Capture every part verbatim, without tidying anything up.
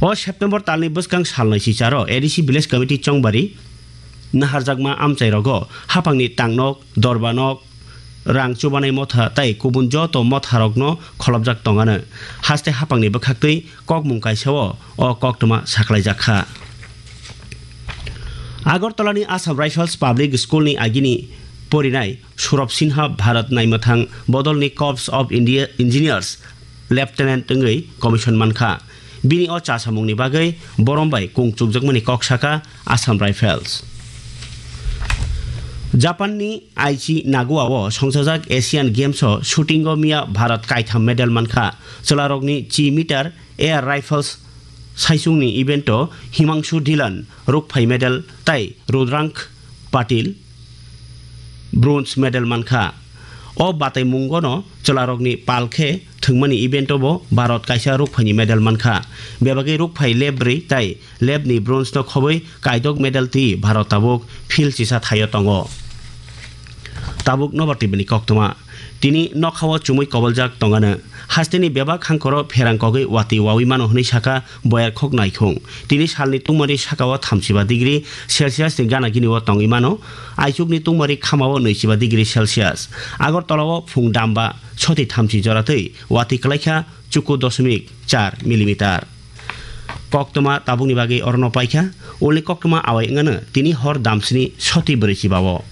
O September talni bwskang salnwi sicharo A D C Village Committee Chongbari naharjakma amchairogo hapangni tangnok, dorbanok, rang chubanai motha tei kubun joto motharokno kholopjak tongano. Haste hapangni bwkhaktwi kokmung kaisao o koktwma sakhlaijakha. Agartalani Assam Rifles Public School ni agini porinai Surab Sinha Bharat naimwthang bodolni Corps of India Engineers Lieutenant wngwi commission mankha. Bini o chasamungni bagwi borom bai kung chukjakmani kok sakha Assam Rifles. Japanni Aichi Nagoa-o songchajak Asian Games-o shooting-o miya Bharat kaitham medal mankha. Chwlarokni chi meter air rifles saichungni event-o Himangshu Dhillon rukphai medal tai Rudrangk Patil bronze medal mankha. O bataimungono chwlarokni pal khe thwngmani event-o bo Bharat kaisa rukphaini medal mankha. Bebagwi rukphai lebri tai lebni bronze-no khobwi kaidok medal twi Bharat tabuk field chisa thaio tongo. Tabuk nobar tibini koktwma. Tini nokhao chumui koboljak tongano. Hasteni bebak hangkoro pherang kogwi watwi wawi mano hwnwi sakha Boyar khok naikhung. Tini salni tungmani sakao thamsiba degree Celsius ni gana gini o tongwi mano. Aichukni tungmani khamao nwichiba degree Celsius. Agartala o phung damba soti thamchi jora twi watwi kwlaikha chuku dosmik char millimeter. Koktwma tabukni bagwi orono paikha. Uli koktwma awai wngano tini hor damsini soti brwichiba o.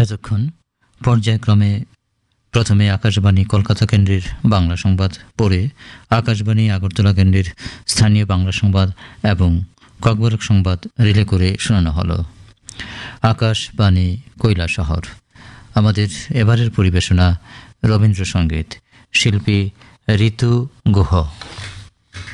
এতক্ষণ পর্যায়ক্রমে প্রথমে আকাশবাণী কলকাতা কেন্দ্রের বাংলা সংবাদ, পরে আকাশবাণী আগরতলা কেন্দ্রের স্থানীয় বাংলা সংবাদ এবং ককবরক সংবাদ রিলে করে শোনানো হলো। আকাশবাণী কৈলাসহর। আমাদের এবারের পরিবেশনা রবীন্দ্রসঙ্গীত, শিল্পী ঋতু গুহ।